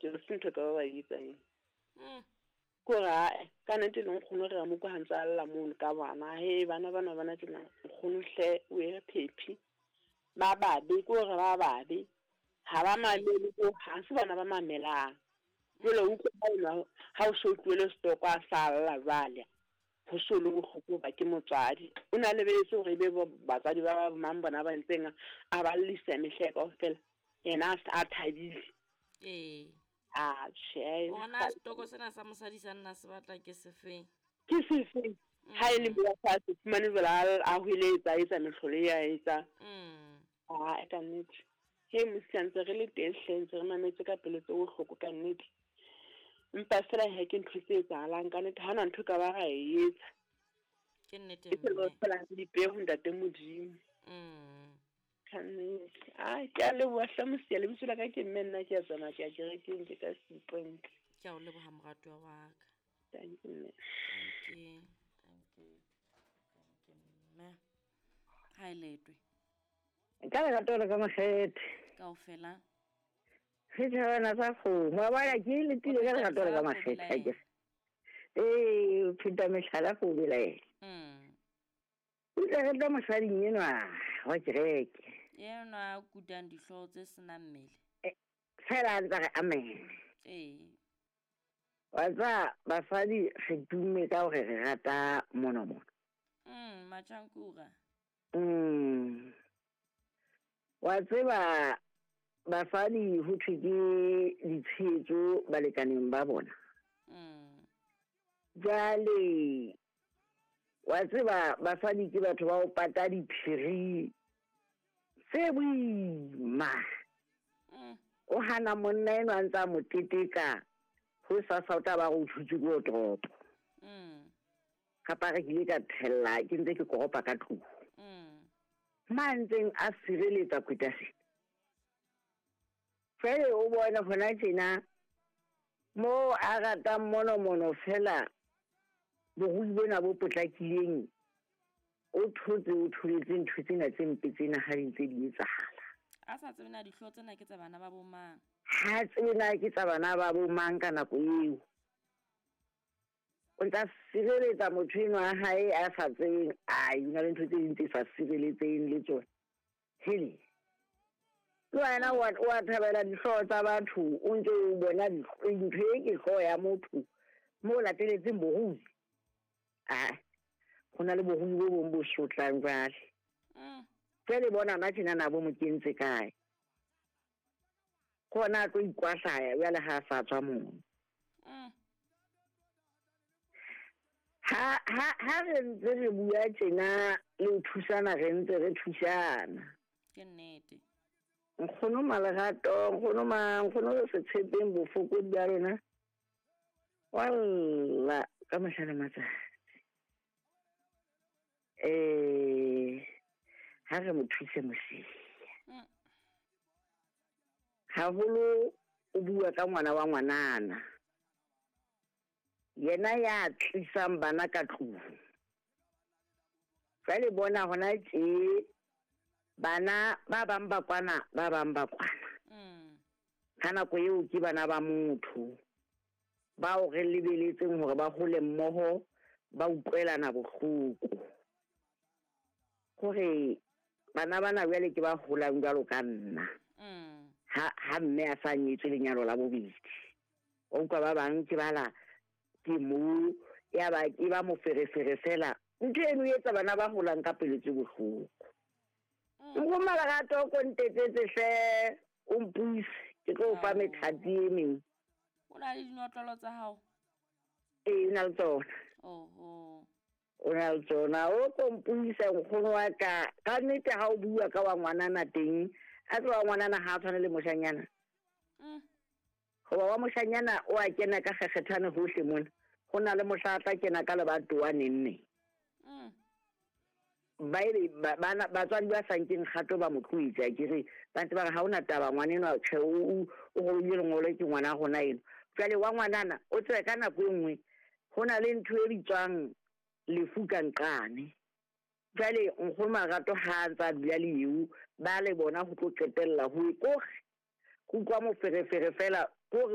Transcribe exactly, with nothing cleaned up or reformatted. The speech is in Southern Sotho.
ke re se ntho ka ba ba e etsang. Mm. Ko re ae ka nnete le nkgono re a mo kwa ha ntse a lla mono ka bana. He bana bana bana tjena nkgono hle o e re phephi. Ba babe ko re ba babe. Ha ba mamele ko ha se bana ba mamelang. Jwale o utlwa ha o so tlohele setoko a sa lla jwale. Ho so le bohloko ba ke motswadi. O na lebeletse hore ebe bo batswadi ba ba mang bona ba ntseng a ba llisa mehla kaofela. Yena a sa thabile. Ee. Ah, tjhe. Ona setoko sena sa mosadi sa nna se batla ke sefeng? Ke sefeng? Ha e le mo sa se fumane jwale a a hweletsa a etsa mehlolo e a etsa. Mm. Ah, ka nnete. He mosia ntse re le teng hle ntse re mametse ka pelo tse bohloko ka nnete. Empa feela he ke ntho tse etsahalang ka nnete ha hona ntho ka ba ra e etsa. Ke nnete Ke tsela mme. feela re di peho ntate Modimo. Mm. Ka nnete. Ai, ke a leboha hle mosia, lebitso la ka ke mme nna ke a tsamaya ke ya kerekeng ke ka Seapoint. Ke a o leboha moratuwa wa ka. Thank you mme. Thank you. Thank you. Thank you mme. Ha e letwe. Ka lerato le ka makgethe. Kaofela. Setjhabana sa kgomo. Wa bona ke letile ka lerato le ka makgethe akere. Ee, o pheta mehlala ko belaela. Mm. O tla rata mosading enwa wa kereke. Enwa a kutang dihlooho tse senang mmele. Eh, fela a ntse a re amen. Ee. Wa tseba basadi re tumme ka hore re rata monomono. Mm, matjhankura. Mm. Wa tseba basadi ho thwe ke ditshehetso balekaneng ba bona. Mm. Jwale wa tseba basadi ke batho ba ho pata diphiri tse boima. Mm. O hana monna enwa a ntse a mo teteka ho sasa o tla ba re o thutse ke wardrobe. Mm. Kapa re ke ile ka thella ke ntse ke koropa ka tlung. Mm. Ma ntseng a sireletsa kwetase. Jwale o bona hona tjena mo a ratang monomono fela borui bona bo potlakileng o thotse o tholetse ntho tsena tse mpe tsena ha di ntse di etsahala. A sa tsebe na dihlooho tsena ke tsa bana ba bo mang? Ha tsebe na ke tsa bana ba bo mang ka nako eo. O ntsa sireletsa motho enwa wa hae a sa tsebeng, ai, ho na le ntho tse ding tse sa sireletseng le tsona. Hele. Le wena wa, wa thabela dihlooho tsa batho, o ntse o bona ntho e ke hlooho ya motho mo lateletseng borui. Ah, ho na le borui bo bong bo sotlang jwale. Mm. Jwale bona na tjena na bo mo kentse kae? Ke hona a tlo ikwahlaya jwale ha a sa tswa mono. Mm. Ha, ha, ha re ntse re bua tjena le ho thusana, re ntse re thusana. Ke nnete. Nkgono Malerato, nkgono ma, nkgono re se tshepeng bofokodi ba rona. Walla, ka mehla le matsatsi. Eh, ha re mo thuse mosia. Mm. Haholo o bua ka ngwana wa ngwanana. Yena ya tlisang bana ka tlung. Jwale bona hona tje bana ba bang ba kwana, ba bang ba kwana. Mm. Ka nako eo ke bana ba motho bao re lebeletseng hore ba hole mmoho, ba utlwelana bohloko. Hore bana bana jwale ke ba holang jwalo ka nna. Mm. Ha, ha mme a sa nyetswe lenyalo la bobedi. O utlwa ba bang ke bala ke mo ya ba ke ba moferefere fela. Ntho eno e etsa bana ba holang ka pelo tse bohloko. Mm. Nkgono Malerato o ko ntetsetse hle, o mpuise, ke tlo o fa Ao. methati e meng. O na le dinotlolo tsa hao? Ee, o na le tsona. Oho. O na le tsona. O ko mpuisa nkgono wa ka. Ka nnete ha o bua ka wa ngwanana teng, a tseba wa ngwanana ha a tshwane le moshanyana. Mm. Hoba wa moshanyana o a kena ka kgekgethane hohle mona. Ho na le mohla a tla kena ka lebatowa neng neng. Mm. Ba ebe ba, bana, batswadi ba sa nkeng kgato ba mo tlohetse, akere ba ntse ba re ha hona taba ngwanenwa, tjhe, o, o, o robile lengolo ke ngwana rona eno. Jwale wa ngwanana o tsebe ka nako e nngwe ho na le ntho e bitswang lefu ka nqane. Jwale nkgono Marato ha a ntsa dula le eo, ba le bona ho tlo qetella ho e kore, go utlwa moferefere fela, kore